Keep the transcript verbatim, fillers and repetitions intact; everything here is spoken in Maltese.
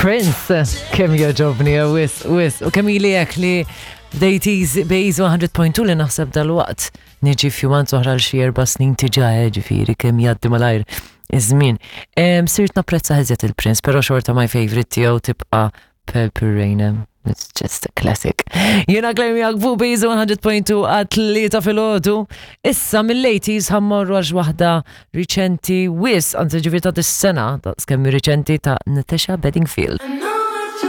Prince, kemm jogħġobni, wisq, wisq, u kemm ili hekk li bdejt bejz mija punt tnejn li naħseb dal-waqt niġi few months oħra l xi erba' snin diġà, eh, ġifieri kemm jgħaddi malajr iż-żmien. Em, Sirt napprezza iżjed il-Prince, però xorta my favorite tiegħu tibqa' Purple Rain. It's just a classic. Jiena Claire miegħek fuq Bejz mija punt tnejn għat-tlieta filgħodu. Issa mill-eighties ħa mmorru għal waħda riċenti wisq, anzi ġifieri ta' dis-sena, ta' skemmi riċenti, ta' Natasha Bedingfield.